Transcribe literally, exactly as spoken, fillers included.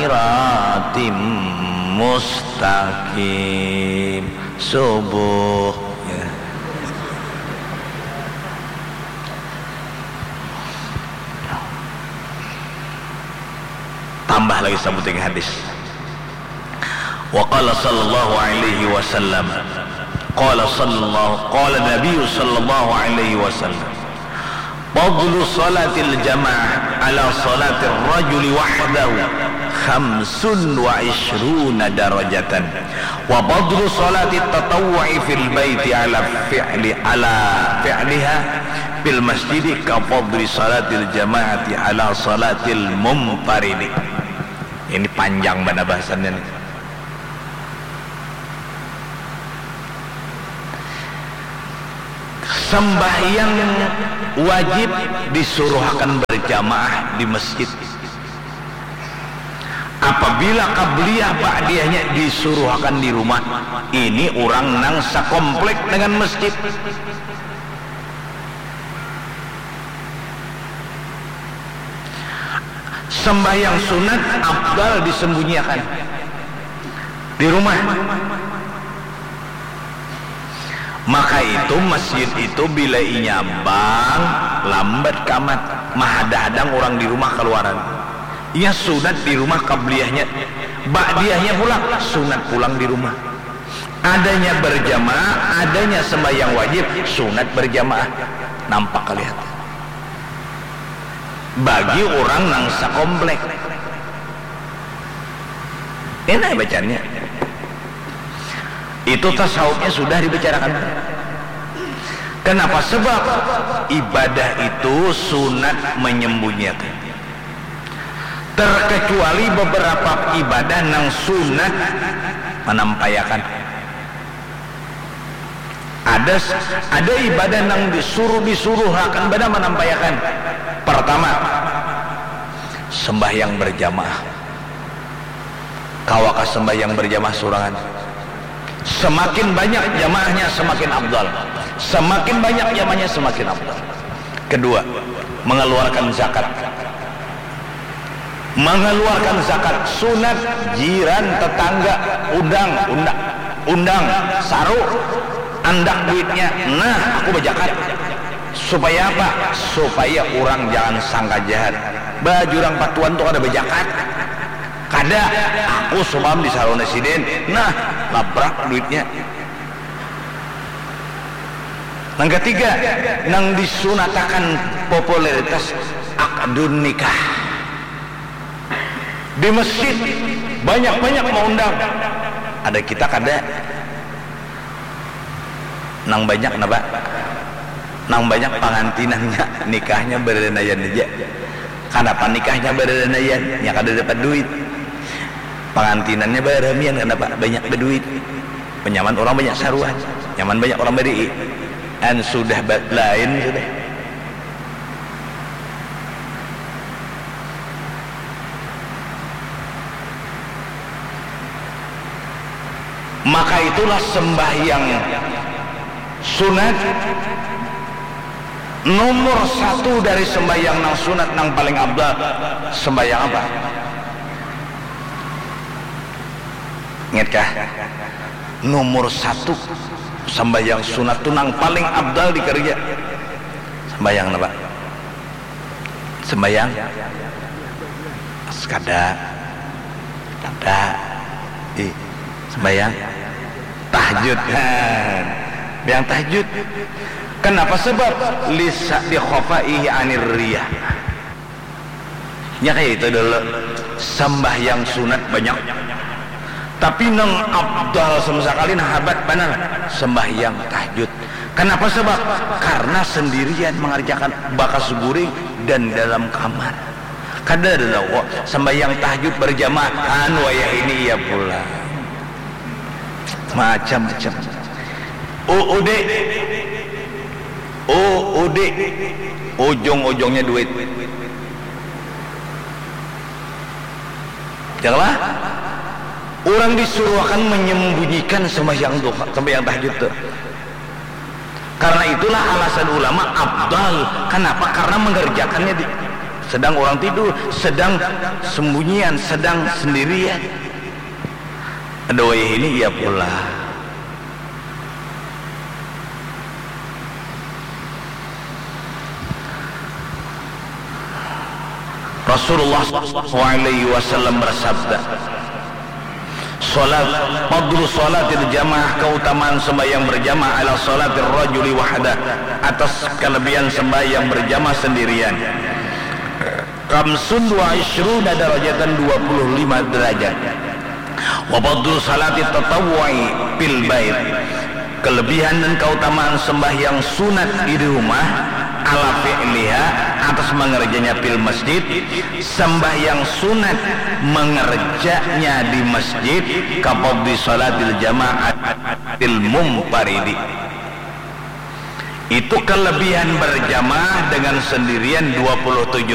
siratim mustaqim. Subuh. Ya. Tambah lagi sabuting hadis. Wa qala sallallahu alaihi wasallam. Qala sallallahu, qala Nabi sallallahu alaihi wasallam. Fadlu salatil jamaah ala salatir rajuli wahdahu khamsun wa ishruna darajatan. Wa fadlu salatit tatawwu'i fil baiti ala fi'li, ala fi'liha fil masjidi ka fadli salatil jamaati ala salatil munfaridi. Ini panjang banar bahasannya nih. Sembahyang wajib disuruhakan berjamaah di masjid. Apabila qabliyah ba'diyahnya disuruhakan di rumah, ini urang nang sakomplek dengan masjid. Sembahyang sunat afdal disembunyiakan di rumah. Maka itu masjid itu bila inya bang, lambat kamat, mahadang-hadang urang di rumah kaluaran. Inya sunat di rumah qabliyahnya, ba'diyahnya pulang, sunat pulang di rumah. Adanya berjamaah, adanya sembahyang wajib, sunat berjamaah. Nampak kalihatan. Bagi urang nang sakomplek. Enak bacaannya. Itu tasawufnya sudah dibicarakan. Kenapa? Sebab ibadah itu sunat menyembunyiakan. Terkecuali beberapa ibadah nang sunat manampaiakan. Ada s-, ada ibadah nang disuruh, disuruhakan banar manampaiakan. Pertama, sembahyang berjamaah. Kawakah sembahyang berjamaah surangan? Semakin banyak jamaahnya, semakin afdal. Semakin banyak jamaahnya, semakin afdal. Kedua, mengeluarkan zakat. Mengeluarkan zakat sunat, jiran, tetangga, undang, undang, undang, saru, andak duitnya, nah, aku bajakat. Supaya apa? Supaya urang jangan sangka jahat. Bah, jurang patuan tu kada bajakat. Kada, aku semalam di saruna sidin, nah, labrak duitnya. Nang katiga, nang disunatakan popularitas, akdun nikah. Di masjid banyak-banyak maundang. Ada kita kada. Nang banyak napa? Nang banyak pangantinannya nikahnya baranaian haja. Kanapa nikahnya baranaian? Nya kada dapat duit. Pangantinannya baramian, kanapa? Banyak baduit. Nyaman urang banyak saruan, nyaman banyak urang barii. An sudah ba-, lain sudah. Maka itulah sembahyang sunat nomor satu dari sembahyang nang sunat nang paling afdal. Sembahyang apa? Ingat kah? Nomor satu sembahyang sunat tu nang paling afdal dikerja. Sembahyang apa? Sembahyang sekada, kada, ih, sembahyang tahajud. Nah, yang tahajud. Kenapa? Sebab lisa di khofaihi anir riyah. Nya kaya itu dulu, sambahyang sunat banyak, tapi nang abdal sama sakali, nah, habat banar sambahyang tahajud. Kanapa sabab? Karna sandirian mangarjakan, bakas guring dan dalam kamar. Kada ada tahu kok sambahyang tahajud barjamaah, anu wayah ini iya pulang. Macam-macam. U U D. U U D. Ujung-ujungnya duit. Janganlah. Urang disuruhakan manyambunyikan sambahyang duha, sambahyang tahajud tu. Karna itulah alasan ulama afdal. Kanapa? Karna mangarjakannya di, Sedang orang tidur, sedang sembunyian, sedang sendirian. Ada wayah ini iya pula. Rasulullah sallallahu alaihi wasallam bersabda, salat, fadlu salatil jamaah, keutamaan sembahyang berjamaah, ala salatir rajuli wahdah, atas kelebihan sembahyang berjamaah sendirian. Khamsun wa ishruna darajatan, dua puluh lima derajat. Wa fadlu salati tatawwu'i fil bait, kelebihan dan keutamaan sembahyang sunat di rumah, ala fi'liha, atas mengerjanya fil masjid, sembahyang sunat mengerjanya di masjid, ka fadli salatil jamaah fil munfaridi. Itu kelebihan berjamaah dengan sendirian dua puluh tujuh